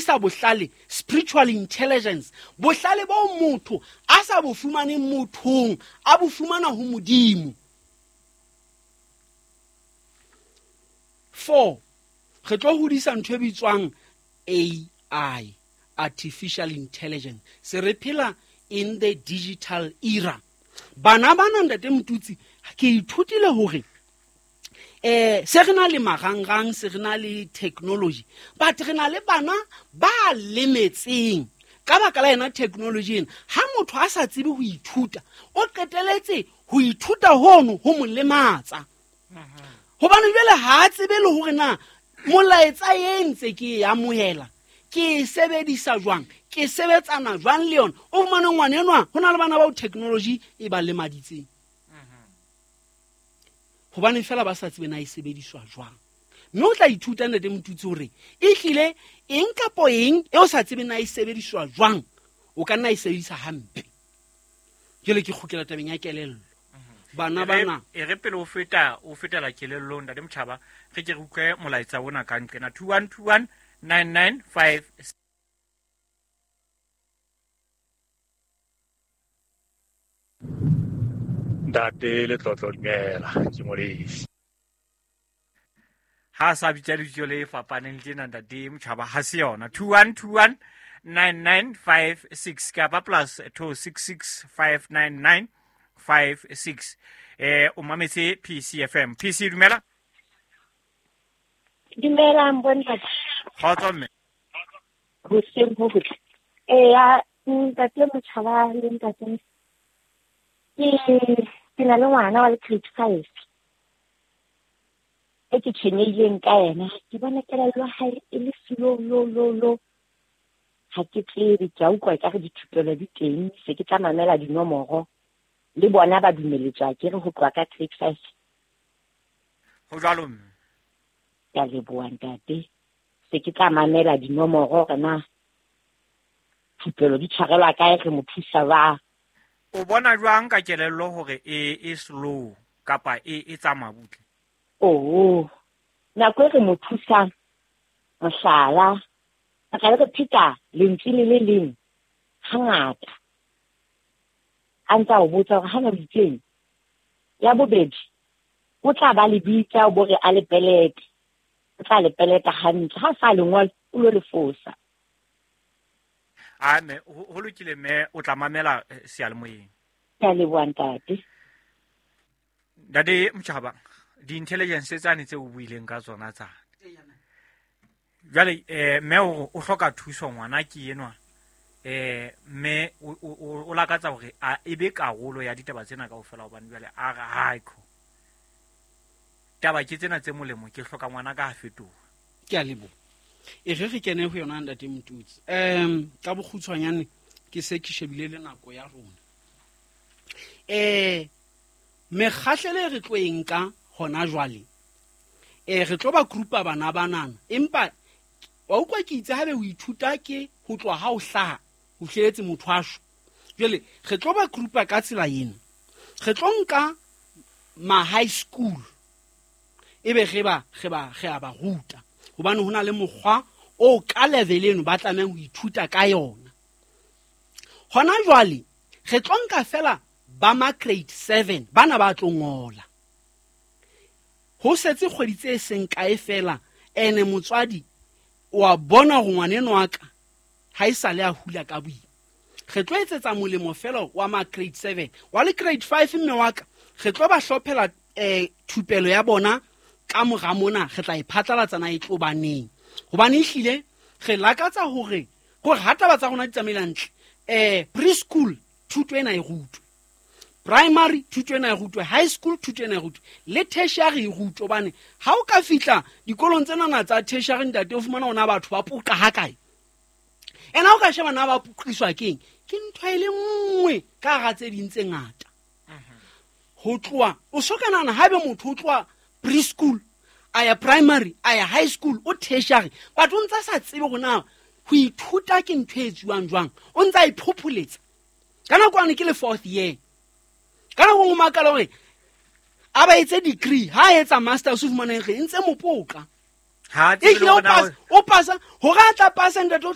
hodisa bohlale, spiritual intelligence, bohlale bo motho a sa bo fumaneng mothong, a bo fumana ho Modimo. 4, re tlo hodisa ntho e bitswang AI, artificial intelligence. Se re phela in the digital era. Bana bana, ntate Motutsi, ke ithutile hore se re na le marangrang, se re na le technology, but re na le bana ba lemetseng ka baka la yena technology ena. Ha motho a sa tsebe ho ithuta, o qeteletse ho ithuta hono ho mo lematsa, hobane jwale ha a tsebe le hore na molaetsa e ntse ke e amohela ke e sebedisa jwang, ke sebetsana jwang le yona. O fumane ngwana enwa, ho na le bana bao technology e ba lemaditseng hobane fela ba sa tsebe na e sebediswa jwang. Mme o tla ithuta, ntate Motutsi, hore ehlile eng kapo eng e o sa tsebe na e sebediswa jwang, o ka nna e sebedisa hampe. Jwale ke kgutlela tabeng ya kelello, bana bana. E re pele o feta, o fetela kelellong, ntate Motjhaba, re ke re utlwe molaetsa ona ka nqena 21 21 995. Ntate Letlotlo, dumela, ke Molefi. Ha a sa bitsa lebitso le fapaneng tjena, ntate Motjhaba, ha se yona. 21 21 9956 kapa +266 599 56. O mametse PCFM. PC, dumela. Dumelang bontate. Kgotso, mme. Hoseng ho hotle. Eya, ntate Motjhaba le ntate, ke na le ngwana wa le grade 5 e ke tshwenyehileng ka yena. Ke bona kelello ya hae e le slow lo lo lo. Ha ke tsebe, ke a utlwa ekare dithupelo di teng, se ke tla mamela dinomoro le bona ba dumeletswa ke re ho tloha ka grade 5. Ho jwalo, mme. Ke a leboha, ntate. Se ke tla mamela dinomoro hore na thupelo di tshwarelwa kae, re mo thusa jwang. O bona jwang ka kelello hore e slow kapa e tsamaya butle? Oh, nako e re mo thusang, mohlala, re tla be re pheta lentswe le le leng hangata, a ntse a o botsa hore hana o itseng. Ya bobedi, o tla ba le bitsa o bo re a le pelete, o tla le peleta hantle, ha sa le ngola o lo le fosa. A mme, ho lokile, mme, o tla mamela seyalemoyeng. Ke a leboha, ntate. Ntate Motjhaba, di-intelligence tsane tse o buileng ka tsona tsane jwale, mme o hloka thuso, ngwana ke enwa, mme o lakatsa hore a ebe karolo ya ditaba tsena kaofela, hobane jwale a re haiko taba ke tsena tse molemo, ke hloka ngwana ka a fetoha. Ke a leboha. E re re kene ho yona, ntate Motutsi. Ka bokgutshwanyane, ke se ke shebile le nako ya rona. Mekgahlelo e re tlo e nka hona jwale, re tlo ba groupa bana banana, empa wa utlwa ke itse haebe o ithuta ke ho tloha ha o hlaha ho fihleletse motho a shwa. Jwale re tlo ba groupa ka tsela ena. Re tlo nka ma high school, ebe re a ba ruta, hobane ho na le mokgwa o ka level eno ba tlamehang ho ithuta ka yona. Hona jwale re tlo nka fela ba ma grade 7, bana ba tlo ngola. Ho setse kgwedi tse seng kae fela, ene motswadi wa bona hore ngwaneno wa ka ha e sale a hula ka boima. Re tlo etsetsa molemo fela wa ma grade 7, wa le grade 5, mme wa ka, re tlo ba hlophela thupelo ya bona ka mora mona, re tla e phatlalatsa na e tlo baneng, hobane ehlile re lakatsa hore ha taba tsa rona di tsamaile hantle, preschool thuto ena e rutwe, primary thuto ena e rutwe, high school thuto ena e rutwe, le tertiary e rutwe. Hobane ha o ka fihla dikolong tsenana tsa tertiary, ntate, o fumana hona batho ba poqa hakae. Ena o ka sheba na ba poqiswa keng, ke ntho e le nngwe ka hara tse ding tse ngata. Ho tloha o so ka nahana haebe motho o tloha preschool a ya primary a ya high school o tertiary, but o ntsa sa tsebe hore na ho ithuta ke ntho e etsuwang jwang, o ntsa iphopholetsa. Ka nako ane ke le fourth year, ka nako nngwe makala hore a ba etse degree, ha a etsa masters o fumaneng re ntse mopoka. Ha tsebe le Ehlile o hore na pasa, o pasa hore a tla pasa, ntate, o